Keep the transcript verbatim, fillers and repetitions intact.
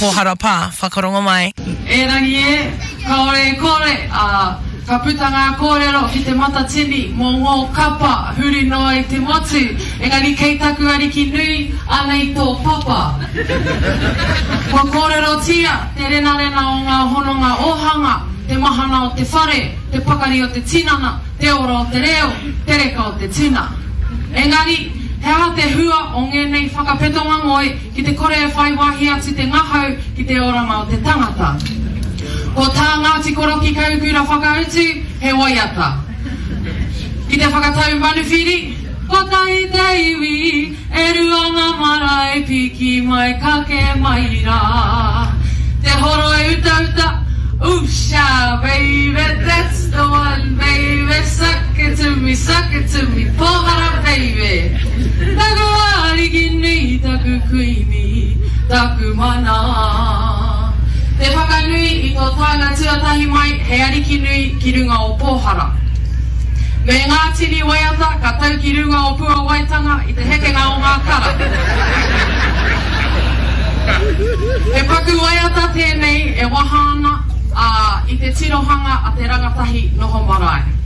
Pōhara Pā. Whakarongo mai. Erangi e, kāore e kore, ā, ka puta ngā kōrero ki te Matatini mō ngō kapa huri noa i te motu, engari kei taku ariki nui, anei tō papa. Kua kōrerotia te renarena o ngā hononga ōhanga, te mahana o te whare, te pakari o te tinana, te ora o te reo, te reka o te tuna. Engari, he aha te hua o ngēnei whakapetonga ngoi ki te kore e whai wāhi atu te ngahau ki te oranga o te tangata? Ko tā Ngāti Koroki Kahukura whakautu, he waiata. Ki te whakatau manuwhiri, Kotahi te iwi, e rua ngā marae, piki mai, kake mai rā. Te horo e utauta, Ooh sha baby, that's the one baby, suck it to me, suck it to me, pōhara baby. Taku ariki nui, taku kuini, taku mana. Te whakanui i tō taenga tuatahi mai hei ariki nui ki runga o Pōhara. Me ngā tini waiata ka tau ki runga o Puawaitanga i te hekenga o ngā kara. He paku waiata tēnei e waha ana, ā, i te tirohanga a te rangatahi noho marae.